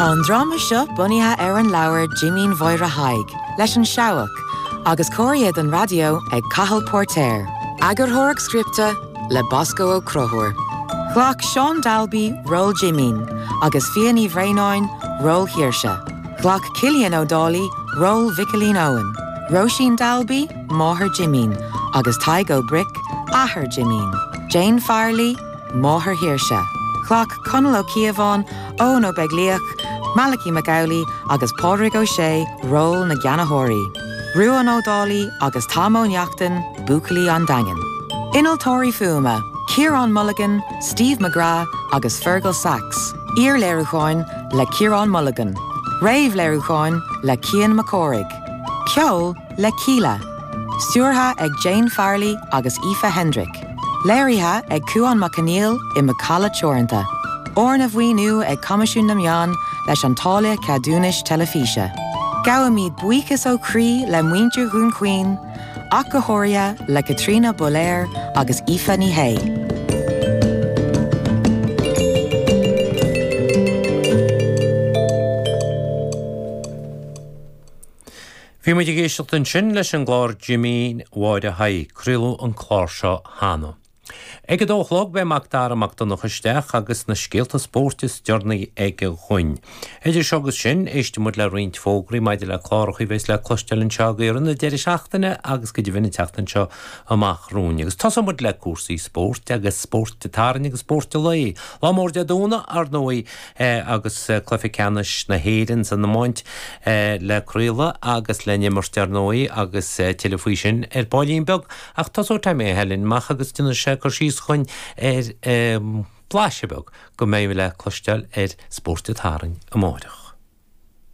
Tá an dráma seo bunaithe ar an leabhar Jimín Mháire Thaidhg leis an Seabhac agus cóirithe don raidió ag Cathal Póirtéir. Eagarthóireacht scripte le Bosco Ó Conchúir. Ghlac Seán Dalby ról Jimín agus Fia Ní Bhraonáin ról Shaoirse. Ghlac Cillian Ó Dálaigh ról Mhicilín Eoin, Róisín Dalby, máthair Jimín, agus Tadhg Ó Bric, athair Jimín, Jane Farrelly, máthair Shaoirse. Ghlac Conall Ó Cíobháin, Eoin Ó Beaglaoich, Malachy Mac Amhlaigh agus Pádraig Ó Sé ról na gceannaitheoirí, Ruadhán Ó Dálaigh agus Tom Ó Neachtain, buachaillí an Daingin. Innealtóirí fuaime, Ciarán Mulligan, Steve McGrath agus Fergal Sachs. Iarléiriúcháin le Ciarán Mulligan. Réamhléiriúcháin le Cian Mac Cárthaigh. Ceol le Kíla. Stiúrtha ag Jane Farrelly agus Aoife Hendrick. Léirithe ag Cuán Mac Conghail i Macalla Teoranta. Arna mhaoiniú ag Coimisiún na Meán leis an Táille Ceadúnais Teilifíse. Gabhaimid buíochas ó chroí le muintir Dhún Chaoin, ach go háirithe le Caitríona Bailéir agus Aoife Ní Shé. Bhí muid ag éisteacht ansin leis an gclár Jimín Mháire Thaidhg. Craoladh an clár seo cheana. Ag a dó a chlog beidh Mac Dara Mac Donncha isteach agus na scéalta spóirt is deireanaí aige dhuinn. Idir seo agus sin, éistfidh muid le roinnt fógraí maidir le cláracha a bheas le cloisteáil anseo i rith an deireadh seachtaine agus go deimhin an tseachtain seo amach romhainn. Agus tosóidh muid le cúrsaí spóirt agus spóirt an tSathairn agus spóirt an lae. Lá mór Dé Domhnaigh, ar ndóigh, agus cluiche ceannais na hÉireann san iomáint le craoladh agus le n-imirt, ar ndóigh, agus tuilleadh faoi sin ar baillín beag. Ach tosóidh Tommy Ó hAilín amach agus déanfaidh sé cur síos dhuinn ar blaiseadh beag go mbeidh le cloisteáil ar Spórt an tSathairn amáireach.